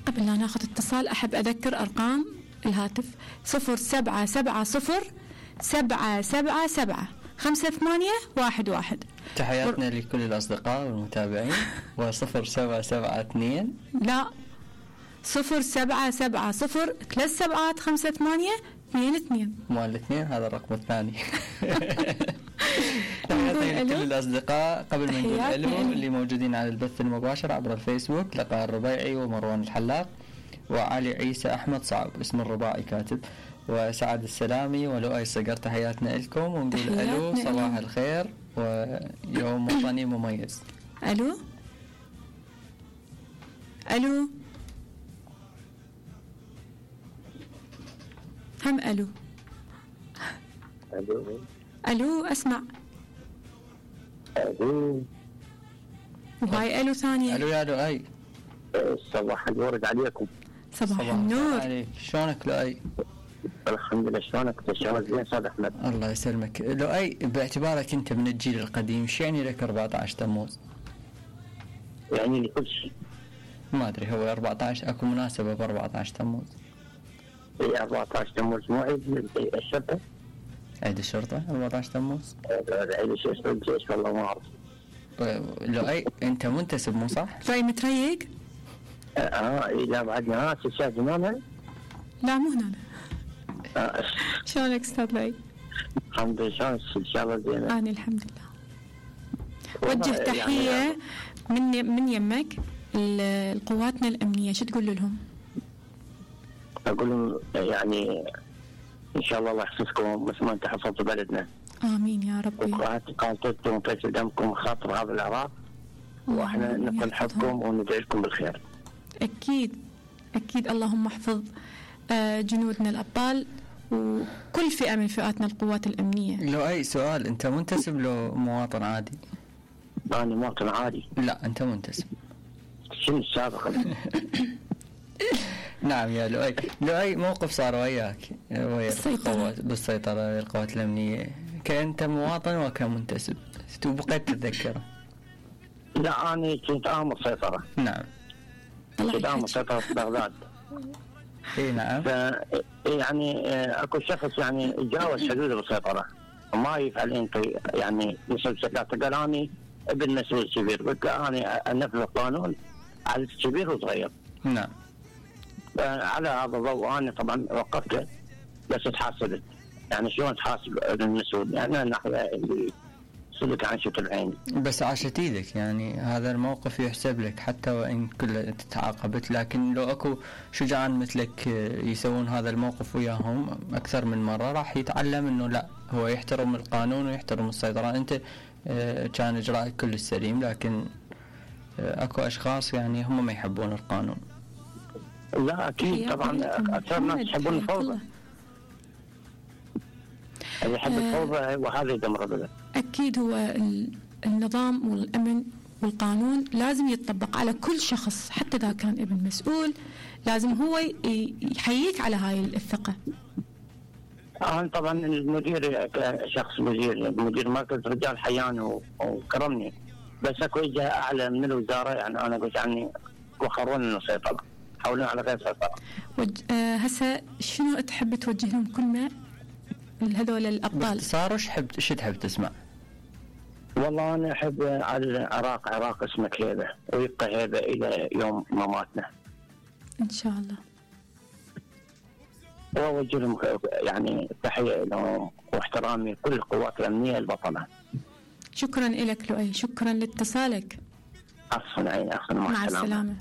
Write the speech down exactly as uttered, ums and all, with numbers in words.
قبل لا ناخذ اتصال أحب أذكر أرقام الهاتف صفر سبعة سبعة صفر سبعة سبعة سبعة خمسة ثمانية واحد واحد. تحياتنا ور... لكل الأصدقاء والمتابعين. وصفر سبعة سبعة اثنين لا صفر سبعة سبعة صفر ثلاث سبعات خمسة ثمانية اثنين اثنين. مو الاثنين هذا الرقم الثاني. تحياتنا لكل الأصدقاء. قبل ما نقول ألو اللي موجودين على البث المباشر عبر الفيسبوك، لقاء الربيعي ومروان الحلاق وعلي عيسى أحمد صعب اسم الرباعي كاتب، وسعد السلامي ولؤي الصقر. تحياتنا لكم ونقول ألو صباح الخير ويوم وطني مميز. ألو ألو هم ألو ألو ألو أسمع ألو وهاي ألو ثانية. ألو يا لؤي صباح الورد عليكم. صباح, صباح النور عليك. شلونك لؤي؟ الحمد لله. شلونك تشعر زين استاذ احمد؟ الله يسلمك. لؤي باعتبارك انت من الجيل القديم ايش يعني لك أربعة عشر تموز؟ يعني لي كل شيء. ما ادري هو أربعة عشر اكو مناسبه ب أربعة عشر تموز؟ اي أربعة عشر تموز مو عيد الشرطه؟ عيد الشرطه أربعة عشر تموز؟ عيد الشرطه الجيش والله ما اعرف. لؤي انت منتسب مو صح؟ لؤي متريق؟ اه اي لا بعدنا ها تشاهد هنا؟ لا مو هنا. آه. شلونك استاذ لؤي؟ الحمد لله. شلونك ان شاء الله زين؟ انا الحمد لله. وجه تحيه يعني من من يمك لقواتنا الامنيه، شو تقول لهم؟ اقول لهم يعني ان شاء الله الله يحفظكم مثل ما انت حفظتوا بلدنا. امين يا ربي. وقاتلتم وفيت دمكم خاطر هذا العراق، واحنا نقول حبكم وندعي لكم بالخير. اكيد اكيد. اللهم احفظ جنودنا الابطال وكل فئه من فئاتنا القوات الامنيه. لو اي سؤال، انت منتسب لو مواطن عادي؟ انا مواطن عادي. لا انت منتسب. شنو السابق؟ نعم يا لؤي. لؤي موقف صار وياك ويا القوات بالسيطرة القوات الأمنية، كأنت مواطن وكمنتسب وبقيت تتذكره؟ لا أنا كنت آمر سيطرة. نعم. كنت آمر سيطرة في بغداد. اي نعم. يعني اكو شخص يعني تجاوز حدود السيطرة وما يفعل انت يعني نسب سكاته. قال اني ابن مسؤول كبير، قلت اني انفذ القانون على الكبير وصغير. نعم. على هذا الضوء انا طبعا وقفت بس تحاسبت. يعني شلون تحاسب المسؤول؟ يعني الناحيه اللي سلك عن شوط العين. بس عاشت ايدك، يعني هذا الموقف يحسب لك حتى وان كل تعاقبت، لكن لو اكو شجعان مثلك يسوون هذا الموقف وياهم اكثر من مره راح يتعلم انه لا، هو يحترم القانون ويحترم السيطره. انت كان اجراءك كل السليم، لكن اكو اشخاص يعني هم ما يحبون القانون. لا اكيد طبعا اكثر ناس يحبون الفوضى. اللي يحب الفوضى وهذا يدمر البلد. اكيد هو النظام والامن والقانون لازم يتطبق على كل شخص، حتى اذا كان ابن مسؤول لازم هو يحييك على هاي الثقه. أنا طبعا المدير شخص مدير مدير مركز رجال حياني وكرمني، بس اكو جهه اعلى من الوزاره يعني انا قلت عني وخرون السيطره، حولنا على غير سيطره. وج... آه هسه شنو تحب توجه لهم كلمه لهذول الابطال؟ باختصار ايش تحب ايش تحب تسمع؟ والله انا احب على العراق عراق اسمك هيبه ويبقى هيبه الى يوم مماتنا ان شاء الله. واوجه لهم يعني تحيه لهم واحترامي كل القوات الامنيه البطله. شكرا لك لؤي، شكرا لاتصالك. عفوا عيني، عفوا، مع, مع السلامه.